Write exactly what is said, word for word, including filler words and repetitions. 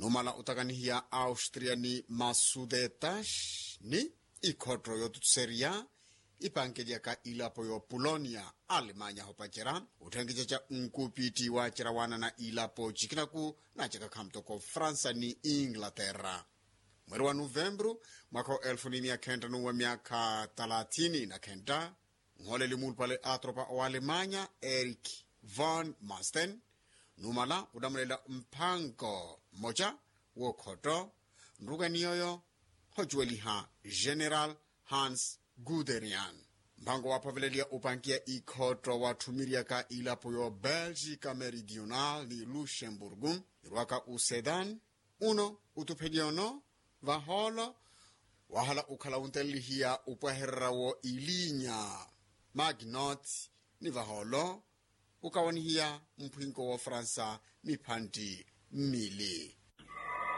Numala otakanihiya austria ni masudetas ni ikhotto yootutserya ipankelyaka ilapo yo polonia, alemanya hopacerya otthenkicaca nkupitti wacerya wanana ilapo cikinaku nacaka khamutoko fransa ni inglaterra. Mweri wa novembru mwaka wa elfu ni mia khenta nuwa miaka talathini na khenta, nholeli mulupale atropa wa alemanya erik von masten numala onamulela mpanko mmoca wookhotto nrukani yoyo hocuweliha general hans guderian. Mpanko waaphaveleliya opankiya ikhotto waatthumiriaka ilapo yo belgica meridional ni luxemburgo irwaka usedan uno utupheliyono vahoolo wahala ukhala wuntelelihiya upwahererya wo ilinya magnot ni vahoolo ukawanihiya mphwinko wa fransa miphantti mmili.